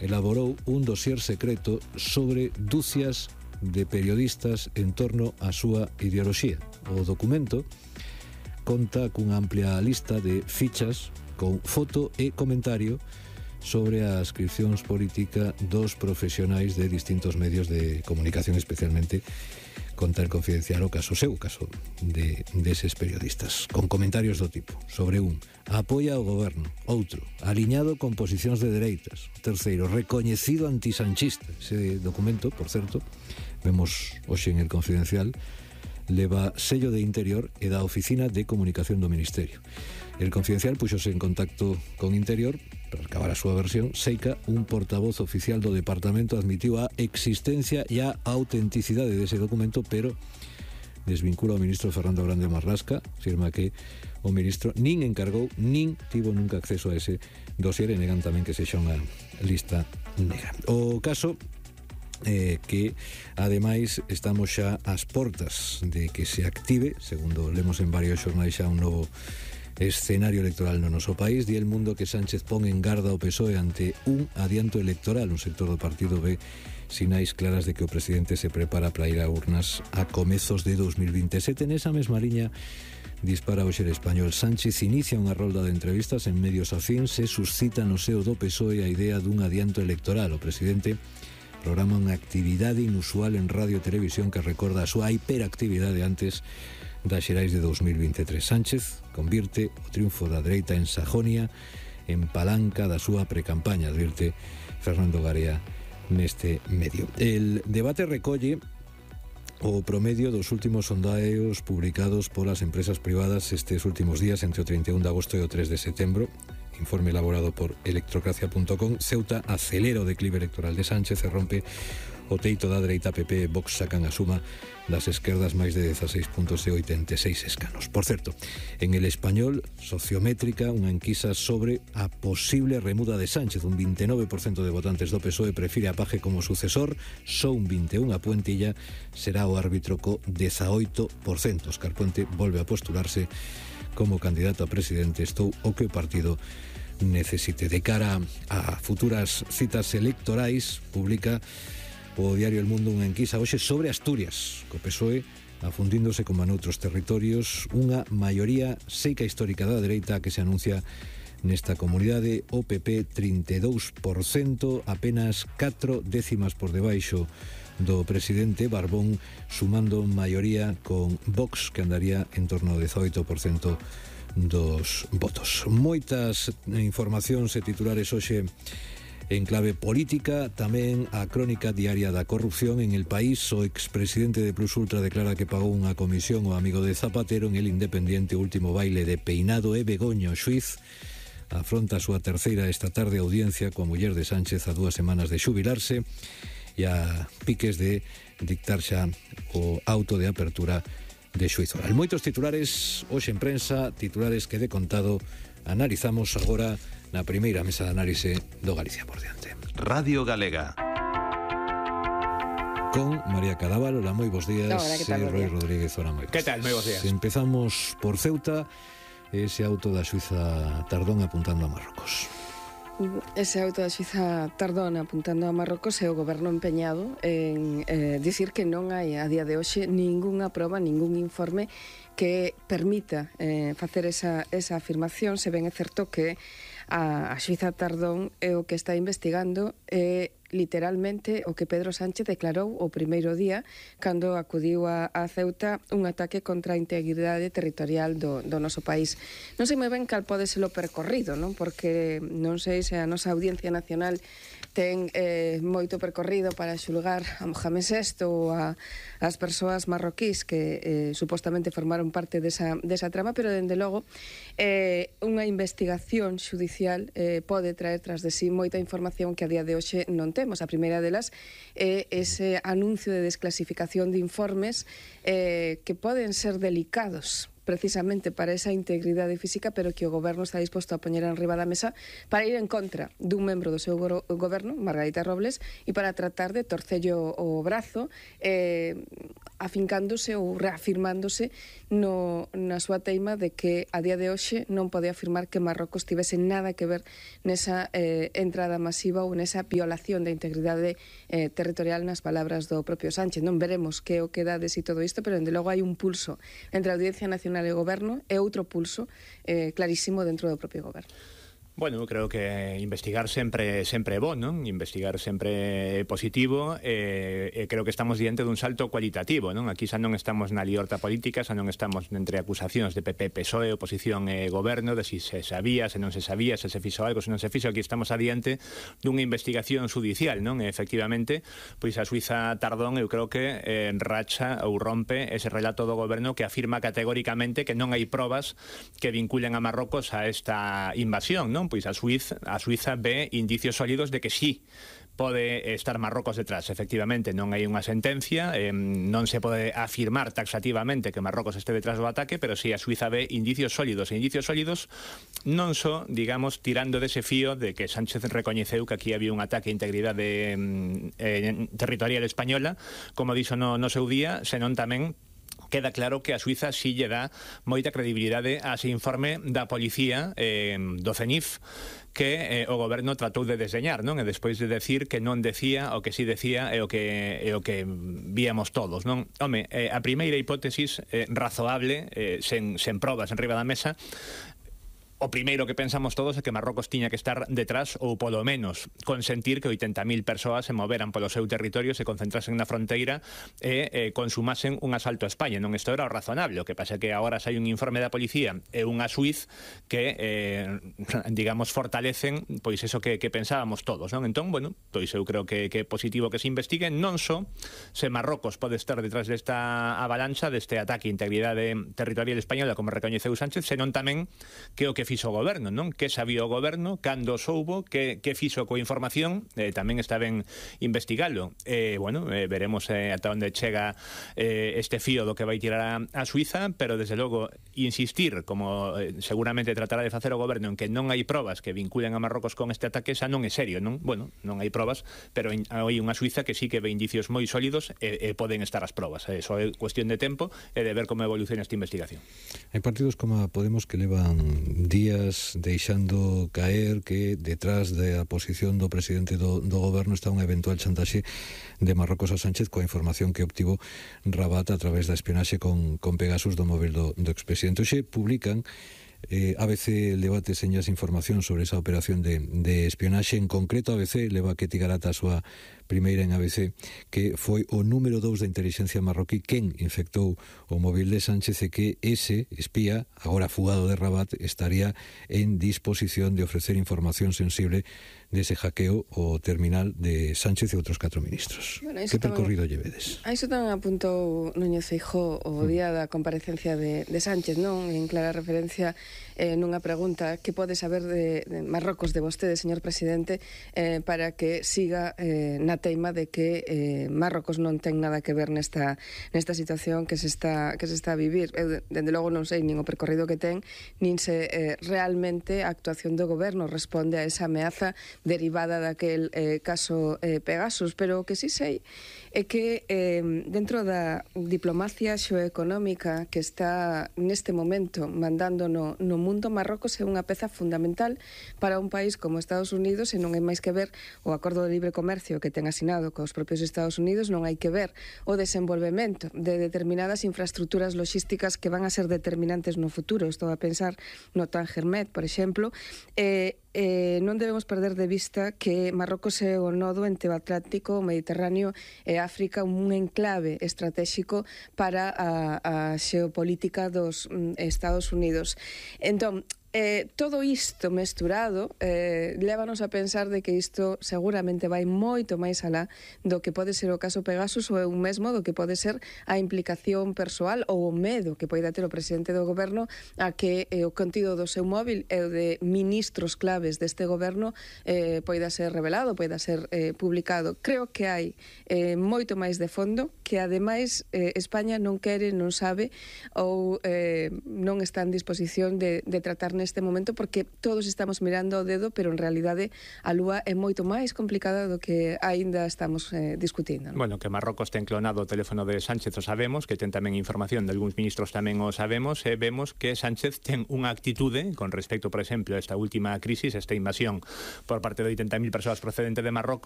elaborou un dossier secreto sobre dúcias de periodistas en torno á súa ideoloxía. O documento conta cunha amplia lista de fichas con foto e comentario sobre a ascripcións política dos profesionais de distintos medios de comunicación, especialmente conta el Confidencial o caso seu, o caso deses periodistas, con comentarios do tipo: sobre un, apoia o goberno; outro, aliñado con posicións de dereitas; terceiro, recoñecido antisanchista. Ese documento, por certo, vemos hoxe en el Confidencial, leva sello de Interior e da Oficina de Comunicación do Ministerio. El Confidencial puxose en contacto con Interior para acabar a súa versión. Seica, un portavoz oficial do departamento, admitiu a existencia e a autenticidade dese documento, pero desvincula ao ministro Fernando Grande Marlasca. Afirma que o ministro nin encargou nin tivo nunca acceso a ese dossier, e negan tamén que sexa unha lista negra. O caso que ademais estamos xa ás portas de que se active, segundo lemos en varios xornais, xa un novo escenario electoral no noso país. Di El Mundo que Sánchez pon en garda o PSOE ante un adianto electoral. Un sector do partido ve sinais claras de que o presidente se prepara para ir a urnas a comezos de 2027. Nesa mesma liña dispara hoxe El Español. Sánchez inicia unha rolda de entrevistas en medios afíns. Se suscita no seo do PSOE a idea dun adianto electoral. O presidente programa unha actividade inusual en radio e televisión que recorda a súa hiperactividade antes das xerais de 2023. Sánchez convirte o triunfo da dereita en Sajonia en palanca da súa precampaña, advirte Fernando Garea neste medio. El debate recolle o promedio dos últimos sondaeos publicados polas empresas privadas estes últimos días, entre o 31 de agosto e o 3 de setembro. Informe elaborado por electrocracia.com. Ceuta acelera o declive electoral de Sánchez e rompe o teito da dereita. PP e Vox sacan a suma das esquerdas, máis de 16 puntos e 86 escanos. Por certo, en El Español, Sociométrica, unha enquisa sobre a posible remuda de Sánchez. Un 29% de votantes do PSOE prefire a Paje como sucesor, só un 21% a Puentilla será o árbitro co 18%. Óscar Puente volve a postularse como candidato a presidente, estou o que o partido necesite. De cara a futuras citas electorais, publica o diario El Mundo unha enquisa hoxe sobre Asturias, co PSOE afundíndose como a noutros territorios, unha maioría seica histórica da dereita que se anuncia nesta comunidade. O PP 32%, apenas 4 décimas por debaixo do presidente. Barbón sumando maioría con Vox, que andaría en torno ao 18% dos votos. Moitas informacións e titulares hoxe en clave política. Tamén a crónica diaria da corrupción en El País. O expresidente de Plus Ultra declara que pagou unha comisión ao amigo de Zapatero. En El Independiente, último baile de Peinado e Begoño. O xuiz afronta a súa terceira esta tarde audiencia coa muller de Sánchez a 2 semanas de xubilarse e a piques de dictar xa o auto de apertura de xuízo oral. Moitos titulares hoxe en prensa, titulares que de contado analizamos agora na primeira mesa de análise do Galicia por diante. Radio Galega. Con María Cadaval. Hola, moi bons días. Hola, que tal, Roy Rodríguez, hola, moi bons. Que tal, moi bons días. Empezamos por Ceuta, ese auto da Suiza Tardón apuntando a Marrocos. Ese auto da Suiza Tardón apuntando a Marrocos e o goberno empeñado en dicir que non hai a día de hoxe ningunha proba, ningún informe que permita facer esa afirmación. Se ben é certo que a Suiza Tardón é o que está investigando literalmente o que Pedro Sánchez declarou o primeiro día cando acudiu a Ceuta, un ataque contra a integridade territorial do noso país. Non sei moi ben cal pode ser o percorrido, non? Porque non sei se a nosa Audiencia Nacional ten moito percorrido para xulgar a Mohamed VI ou as persoas marroquís que supostamente formaron parte desa trama, pero dende logo unha investigación xudicial pode traer tras de sí moita información que a día de hoxe non temos. A primeira delas é ese anuncio de desclasificación de informes que poden ser delicados precisamente para esa integridade física, pero que o goberno está disposto a poñer en riba da mesa para ir en contra dun membro do seu goberno, Margarita Robles, e para tratar de torcello o brazo afincándose ou reafirmándose na súa teima de que a día de hoxe non pode afirmar que Marrocos tivese nada que ver nesa entrada masiva ou nesa violación da integridade territorial, nas palabras do propio Sánchez. Non veremos que o que dades e todo isto, pero dende logo hai un pulso entre a Audiencia Nacional e o Goberno e outro pulso clarísimo dentro do propio Goberno. Bueno, eu creo que investigar sempre é bo, non? Investigar sempre é positivo, creo que estamos diante dun salto cualitativo, non? Aquí xa non estamos na liorta política, xa non estamos entre acusacións de PP, PSOE, oposición e goberno, de si se sabía, se non se sabía, se fixo algo, se non se fixo. Aquí estamos adiante dunha investigación judicial, non? E, efectivamente, pois a Suiza Tardón, eu creo que racha ou rompe ese relato do goberno que afirma categóricamente que non hai probas que vinculen a Marrocos a esta invasión, non? Pois a Suiza ve indicios sólidos de que sí pode estar Marrocos detrás. Efectivamente, non hai unha sentencia, non se pode afirmar taxativamente que Marrocos este detrás do ataque, pero sí a Suiza ve indicios sólidos, e indicios sólidos non só, digamos, tirando dese fío de que Sánchez recoñeceu que aquí había un ataque a integridade territorial española, como dixo no seu día, senón tamén queda claro que a Suiza sí lle dá moita credibilidade a ese informe da policía do CENIF que o goberno tratou de desdeñar, non? E despois de decir que non decía o que sí decía e o que víamos todos, non? Home, a primeira hipótesis razoable, sen probas en riba da mesa, o primeiro que pensamos todos é que Marrocos tiña que estar detrás ou polo menos consentir que 80.000 persoas se moveran polo seu territorio, se concentrasen na fronteira e consumasen un asalto a España. Non, isto era o razonable. O que pasa é que agora hai un informe da policía e unha xuiz que, digamos, fortalecen pois eso que pensábamos todos, non? Entón, bueno, pois eu creo que é positivo que se investigue non só se Marrocos pode estar detrás desta avalancha, deste ataque a integridade territorial española, como recoñeceu Sánchez, senón tamén que o que fixo o goberno, non? Que sabía o goberno, cando soubo, que fixo coa información, tamén está ben investigalo. Bueno, veremos ata onde chega este fío do que vai tirar a Suiza, pero desde logo insistir, como seguramente tratará de facer o goberno, en que non hai probas que vinculen a Marrocos con este ataque, xa non é serio, non? Bueno, non hai probas, pero hai unha Suiza que sí que ve indicios moi sólidos e poden estar as probas. Só é cuestión de tempo e de ver como evoluciona esta investigación. Hai partidos como a Podemos que levan días deixando caer que detrás da posición do presidente do goberno está unha eventual chantaxe de Marrocos a Sánchez coa información que obtivo Rabat a través da espionaxe con Pegasus do móvil do expresidente. Hoxe publican ABC el debate señas información sobre esa operación de espionaxe. En concreto, ABC leva que Tigarata a súa primeira en ABC, que foi o número 2 da inteligencia marroquí quen infectou o móvil de Sánchez e que ese espía, agora fugado de Rabat, estaría en disposición de ofrecer información sensible dese hackeo o terminal de Sánchez e outros 4 ministros. Bueno, que percorrido llevedes? A iso tamén apuntou Núñez Feijóo o día da comparecencia de Sánchez, non? En clara referencia nunha pregunta que pode saber de Marrocos de vostede, señor presidente, para que siga na teima de que Marrocos non ten nada que ver nesta situación que se está a vivir. Eu, dende logo, non sei nin o percorrido que ten, nin se realmente a actuación do goberno responde a esa ameaza derivada daquel caso Pegasus, pero o que sí sei é que dentro da diplomacia xeoeconómica que está neste momento mandando no mundo, Marrocos é unha peza fundamental para un país como Estados Unidos, e non hai máis que ver o acordo de libre comercio que ten asinado cos propios Estados Unidos, non hai que ver o desenvolvemento de determinadas infraestructuras logísticas que van a ser determinantes no futuro. Estou a pensar no Tangermet, por exemplo, non debemos perder de vista que Marrocos é o nodo entre o Atlántico, o Mediterráneo e África, un enclave estratégico para a xeopolítica dos Estados Unidos. Entón, todo isto mesturado lévanos a pensar de que isto seguramente vai moito máis alá do que pode ser o caso Pegasus ou un mesmo do que pode ser a implicación persoal ou o medo que poida ter o presidente do goberno a que o contido do seu móvil e o de ministros claves deste goberno poida ser revelado, poida ser publicado. Creo que hai moito máis de fondo que ademais España non quere, non sabe ou non está en disposición de tratar neste momento, porque todos estamos mirando o dedo, pero en realidade a lúa é moito máis complicada do que aínda estamos discutindo, non? Bueno, que Marrocos ten clonado o teléfono de Sánchez o sabemos, que ten tamén información de algúns ministros tamén o sabemos, e vemos que Sánchez ten unha actitude con respecto, por exemplo, a esta última crisis, esta invasión por parte de 80.000 persoas procedente de Marrocos,